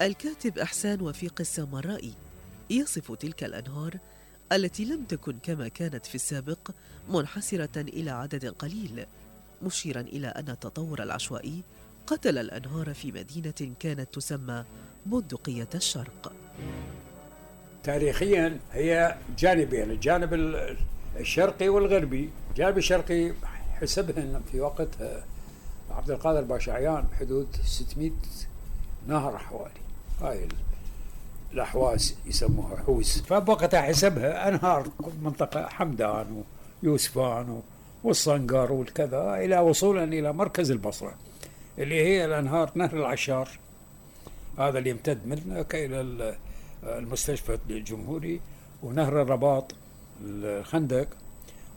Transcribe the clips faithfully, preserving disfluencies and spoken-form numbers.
الكاتب إحسان وفيق السامرائي يصف تلك الأنهار التي لم تكن كما كانت في السابق منحصرة إلى عدد قليل، مشيرا إلى أن التطور العشوائي قتل الأنهار في مدينة كانت تسمى بندقية الشرق. تاريخيا هي جانبين، الجانب الشرقي والغربي. الجانب الشرقي حسبها في وقتها عبد القادر باشا عيان بحدود ستمائة نهر حوالي، هاي الأحواز يسموها حوز، فبوقتها حسبها أنهار منطقة حمدان ويوسفان والصنقر والكذا إلى وصولا إلى مركز البصرة اللي هي الأنهار نهر العشار، هذا اللي يمتد منك إلى المستشفى الجمهوري، ونهر الرباط الخندق،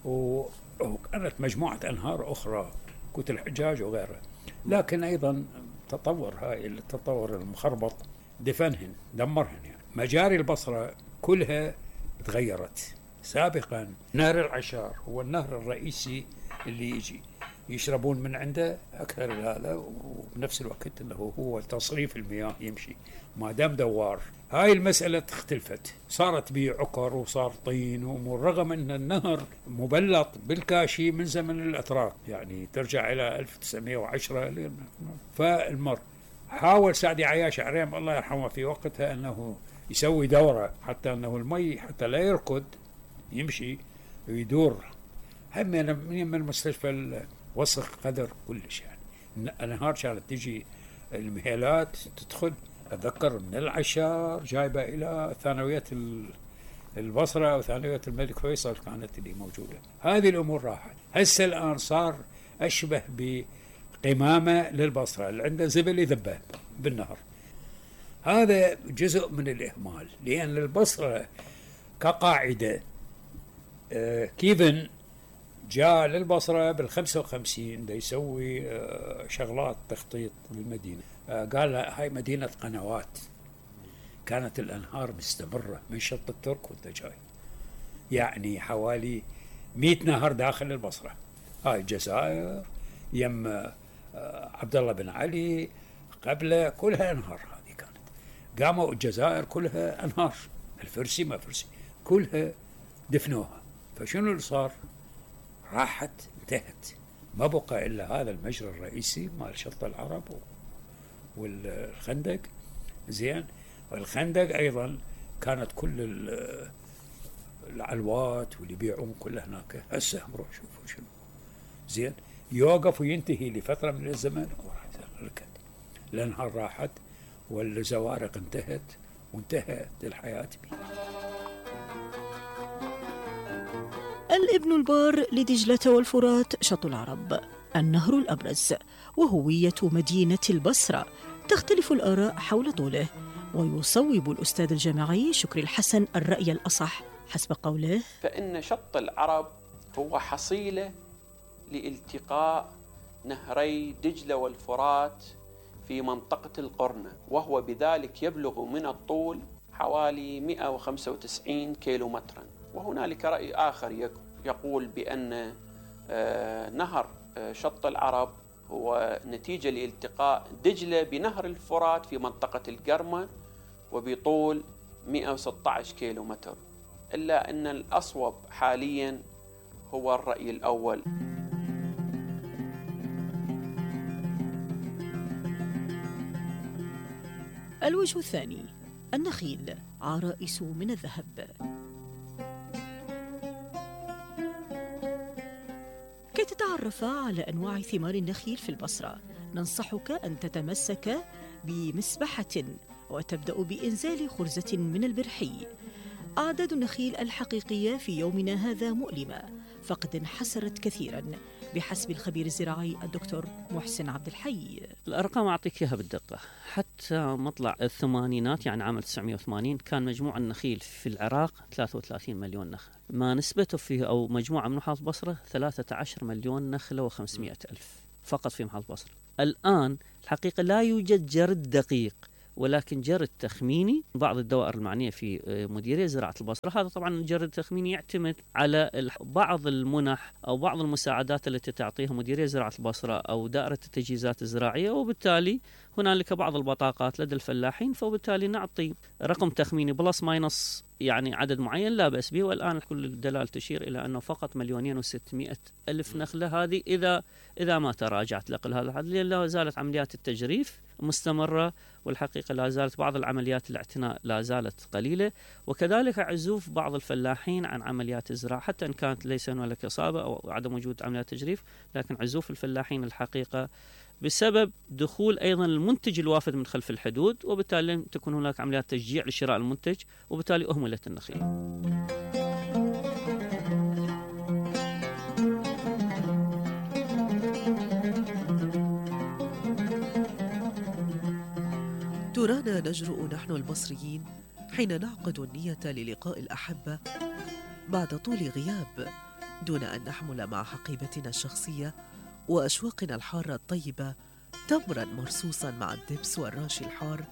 وكانت مجموعة أنهار أخرى كوت الحجاج وغيرها. لكن أيضا تطور هاي التطور المخربط دفنهن دمرهن. يعني مجاري البصرة كلها تغيرت. سابقا نهر العشار هو النهر الرئيسي اللي يجي يشربون من عنده أكثر هذا، وبنفس الوقت أنه هو تصريف المياه يمشي ما دام دوار. هاي المسألة اختلفت، صارت بيه عكر وصار طين وأمور، رغم أن النهر مبلط بالكاشي من زمن الأتراك، يعني ترجع إلى ألف وتسعمائة وعشرة. فالمر حاول سعدي عياش عريم الله يرحمه في وقتها أنه يسوي دورة حتى أنه المي حتى لا يركض يمشي ويدور. هم من المستشفى وسخ قدر كلش، يعني الأنهار كانت تجي المهيلات تدخل. أتذكر من العشار جايبة إلى ثانوية البصرة وثانوية الملك فيصل كانت اللي موجودة. هذه الأمور راحت. هسه الآن صار أشبه بقمامة للبصرة اللي عنده زبل يذبه بالنهر. هذا جزء من الإهمال، لأن البصرة كقاعدة آه كيفن جاء للبصرة بالخمسة وخمسين دا يسوي آه شغلات تخطيط للمدينة. آه قال هاي مدينة قنوات، كانت الأنهار مستمرة من شط الترك وانت جاي، يعني حوالي مئة نهر داخل البصرة. هاي الجزائر يم آه عبد الله بن علي قبله كلها أنهار. هذه كانت قاموا الجزائر كلها أنهار، الفرسي ما فرسي كلها دفنوها. فشنو اللي صار؟ راحت انتهت، ما بقى إلا هذا المجرى الرئيسي مال شط العرب والخندق. زين، والخندق أيضا كانت كل العلوات واللي يبيعون كلها هناك. هسه روح شوفوا شنو. زين، يوقف وينتهي لفترة من الزمن وراح ركد. الأنهار راحت والزوارق انتهت وانتهت الحياة بي. الابن البار لدجلة والفرات شط العرب، النهر الأبرز وهوية مدينة البصرة. تختلف الآراء حول طوله، ويصوب الأستاذ الجامعي شكري الحسن الرأي الأصح حسب قوله: فإن شط العرب هو حصيلة لالتقاء نهري دجلة والفرات في منطقة القرنة، وهو بذلك يبلغ من الطول حوالي مئة وخمسة وتسعين كيلومترا. وهنالك رأي آخر يقول بأن نهر شط العرب هو نتيجة لالتقاء دجلة بنهر الفرات في منطقة القرمة وبطول مئة وستة عشر كيلومتر، إلا أن الأصوب حاليا هو الرأي الأول. الوجه الثاني: النخيل عرائس من الذهب. كي تتعرف على أنواع ثمار النخيل في البصرة، ننصحك أن تتمسك بمسبحة وتبدأ بإنزال خرزة من البرحي. أعداد النخيل الحقيقية في يومنا هذا مؤلمة، فقد انحسرت كثيرا بحسب الخبير الزراعي الدكتور محسن عبد الحي. الأرقام أعطيك إياها بالدقة. حتى مطلع الثمانينات يعني عام تسعمائة وثمانين كان مجموع النخيل في العراق ثلاثة وثلاثين مليون نخل، ما نسبته فيه أو مجموعة من محافظة بصرة ثلاثة عشر مليون نخلة وخمسمائة ألف فقط في محافظة بصرة. الآن الحقيقة لا يوجد جرد دقيق ولكن جرد تخميني بعض الدوائر المعنية في مديرية زراعة البصرة. هذا طبعا الجرد التخميني يعتمد على بعض المنح أو بعض المساعدات التي تعطيها مديرية زراعة البصرة أو دائرة التجهيزات الزراعية، وبالتالي هنالك بعض البطاقات لدى الفلاحين، فبالتالي نعطي رقم تخميني بلس ماينص يعني عدد معين لا بأس به. والآن كل الدلائل تشير إلى أنه فقط مليونين وستمائة ألف نخلة هذه إذا إذا ما تراجعت لقل هذا الحد، لأن لا زالت عمليات التجريف مستمرة، والحقيقة لا زالت بعض العمليات الاعتناء لا زالت قليلة، وكذلك عزوف بعض الفلاحين عن عمليات الزراعة حتى إن كانت ليس هنالك إصابة أو عدم وجود عمليات تجريف، لكن عزوف الفلاحين الحقيقة بسبب دخول أيضا المنتج الوافد من خلف الحدود، وبالتالي لم تكن هناك عمليات تشجيع لشراء المنتج، وبالتالي أهملت النخيل. ترانا نجرؤ نحن البصريين حين نعقد النية للقاء الأحبة بعد طول غياب، دون أن نحمل مع حقيبتنا الشخصية وأشواقنا الحارة الطيبة تمرا مرصوصا مع الدبس والراشي الحار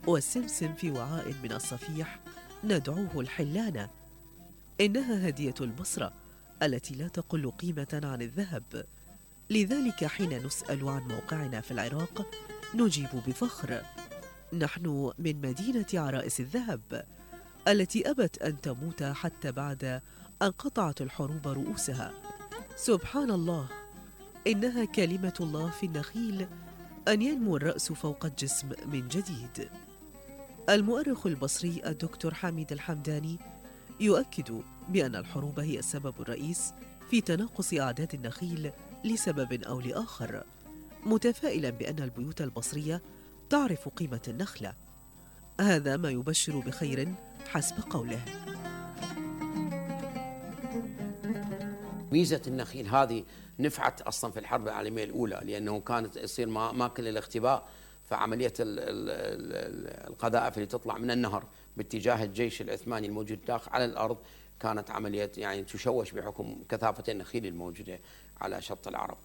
والسمسم في وعاء من الصفيح ندعوه الحلانة. إنها هدية البصرة التي لا تقل قيمة عن الذهب، لذلك حين نسأل عن موقعنا في العراق نجيب بفخر: نحن من مدينة عرائس الذهب التي أبت أن تموت حتى بعد أن قطعت الحروب رؤوسها. سبحان الله، إنها كلمة الله في النخيل أن ينمو الرأس فوق الجسم من جديد. المؤرخ البصري الدكتور حميد الحمداني يؤكد بأن الحروب هي السبب الرئيس في تناقص أعداد النخيل لسبب أو لآخر، متفائلا بأن البيوت البصرية تعرف قيمة النخلة. هذا ما يبشر بخير حسب قوله. ميزة النخيل هذه نفعت أصلا في الحرب العالمية الأولى، لأنه كانت يصير أماكن للاختباء، فعملية القذائف اللي تطلع من النهر باتجاه الجيش العثماني الموجود داخل على الأرض كانت عملية يعني تشوش بحكم كثافة النخيل الموجودة على شط العرب.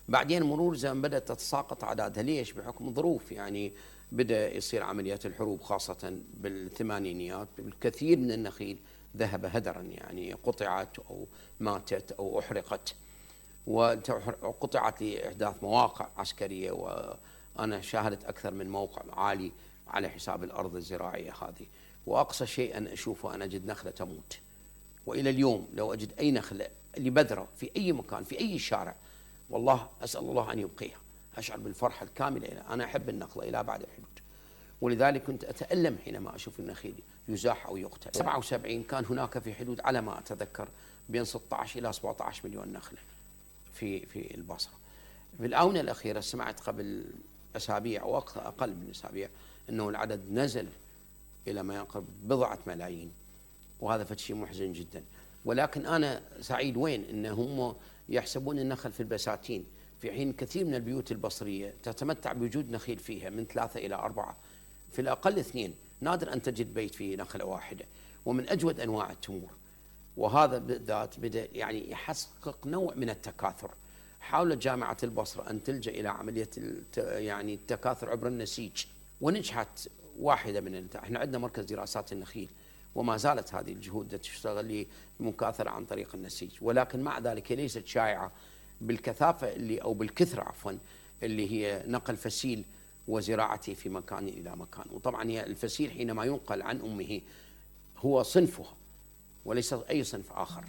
بعدين مرور زمن بدأت تتساقط أعدادها. ليش؟ بحكم ظروف، يعني بدأ يصير عمليات الحروب خاصة بالثمانينيات، الكثير من النخيل ذهب هدرا، يعني قطعت أو ماتت أو أحرقت، وقطعت لإحداث مواقع عسكرية، وأنا شاهدت أكثر من موقع عالي على حساب الأرض الزراعية هذه. وأقصى شيء أن أشوفه أن أجد نخلة تموت، وإلى اليوم لو أجد أي نخلة لبذرة في أي مكان في أي شارع، والله أسأل الله أن يبقيها، أشعر بالفرحة الكاملة. أنا أحب النخلة إلى بعد الحدود، ولذلك كنت أتألم حينما أشوف النخيل يزاح أو يقتل. سبعة وسبعين كان هناك في حدود على ما أتذكر بين ستة عشر إلى سبعة عشر مليون نخلة في في البصرة. في الآونة الأخيرة سمعت قبل أسابيع أو أقل من أسابيع أنه العدد نزل إلى ما يقرب بضعة ملايين، وهذا فشيء محزن جدا. ولكن أنا سعيد وين أن هم يحسبون النخل في البساتين، في حين كثير من البيوت البصرية تتمتع بوجود نخيل فيها من ثلاثة إلى أربعة، في الأقل اثنين، نادر أن تجد بيت فيه نخلة واحدة، ومن أجود أنواع التمور. وهذا بالذات بدأ يعني يحقق نوع من التكاثر. حاولت جامعة البصرة أن تلجأ إلى عملية يعني التكاثر عبر النسيج، ونجحت واحدة من الت... احنا عندنا مركز دراسات النخيل، وما زالت هذه الجهود تشتغل لمكاثرة عن طريق النسيج، ولكن مع ذلك ليست شائعة بالكثافة اللي أو بالكثرة عفوا اللي هي نقل فسيل وزراعته في مكان إلى مكان. وطبعا هي الفسيل حينما ينقل عن أمه هو صنفها وليس أي صنف آخر.